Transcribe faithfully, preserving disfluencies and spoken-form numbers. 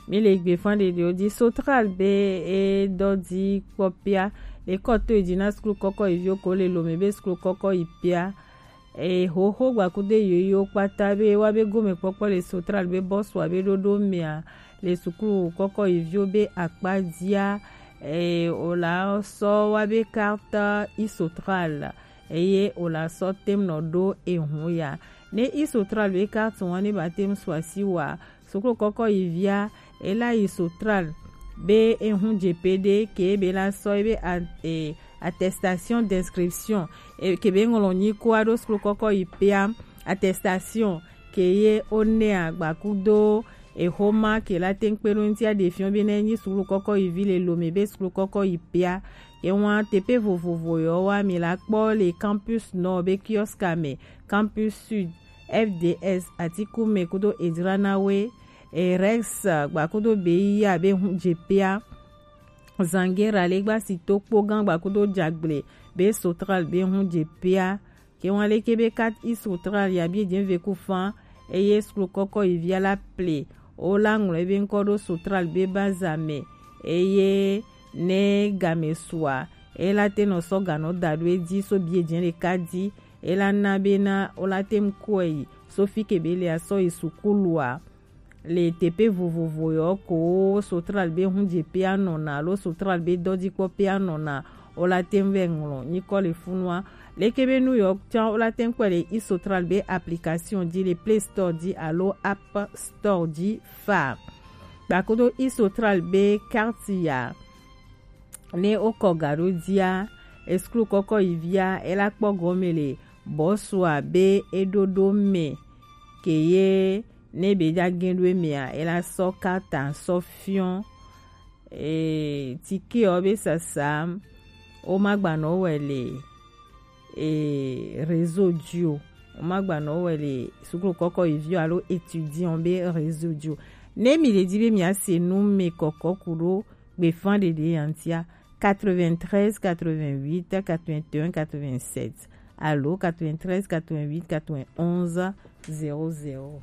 Mi le gbe fan ɖeɖewo ji. Sotral be e dɔ ji kpɔ pia. E kɔ to yi ji na suklu kɔkɔ yi vio ko le lome be suklu kɔkɔ yi pia. E hoho gbakudo yoyo kpata be wa be gome kpɔkpɔ le Sotral be bɔsua be ɖoɖo mea le suklu kɔkɔ yi vio be akpa jia. E o la sɔ wa be carte Isotral eye o la sɔ tem nɔ ɖo ehun ya. Ne Isotral be carte wa ne ba tem suasi wa suklu kɔkɔ yi via, e la yi Sotral be ehun jepe ɖe ke be la sɔ ebe a- e, attestation d'inscription, e, ke be ŋlɔ nyi ko aɖo suklu kɔkɔ yi pea. Attestation ke ye o ne agbakudo ehoma ke la teŋ kpe ɖo ŋuti aɖe fiɔ be ne nyi suklu kɔkɔ yi vi le lome be suklu kɔkɔ yi pea. Ewa tepe vovovo yɔ wa mi la kpɔ le campus nɔ be kiosk me, campus sud, F D S, Atikume kudo Edranawe, e Rex gbakudo be ya be hun jepea. Zangera le gba si to kpogan gbakudo jagble be Sotral be hun jepea. Ke wan leke be kat Isotral ya bi ejen ve ku fan, eye suklu kɔkɔ yi via la ple o la ŋlɔ ebe ŋkɔ ɖo Sotral be baza me, eye ne game sua e la te nɔ sɔ ganɔ da ɖo edzi so bi ejen ɖeka dzi. E la na be na o la te ŋkɔe yi so fi ke be le asɔ yi sukulua le tepe vovovo yɔ ko Sotral be hun jepea nɔna alo Sotral be dɔjikpɔpea nɔna, o la te ŋ vɛ ŋlɔ nyikɔ le funua. Leke be nu yɔ can o la te ŋ kpɔe le Isotral be application ji le Play Store ji alo App Store ji fa. Gbakudo Isotral be carte ya ne o kɔ ga ɖo jia, esuklu kɔkɔ yi via e la kpɔ gɔme le bɔsua be e ɖoɖo me ke ye ne be ja gen ɖo emea e la sɔ kata sɔ fiɔ. E, tike ɔ be sasa o ma gba nɔ wɛ le e réseau ji o. O ma gba nɔ wɛ le suklu kɔkɔ yi vio alo étudiant be réseau ji o. Ne mi le di be mi ase nu me kɔkɔ ku ɖo gbefan ɖeɖe yantia, quatre-vingt-treize quatre-vingt-huit quatre-vingt-un quatre-vingt-sept alo quatre-vingt-treize quatre-vingt-huit quatre-vingt-onze zéro zéro.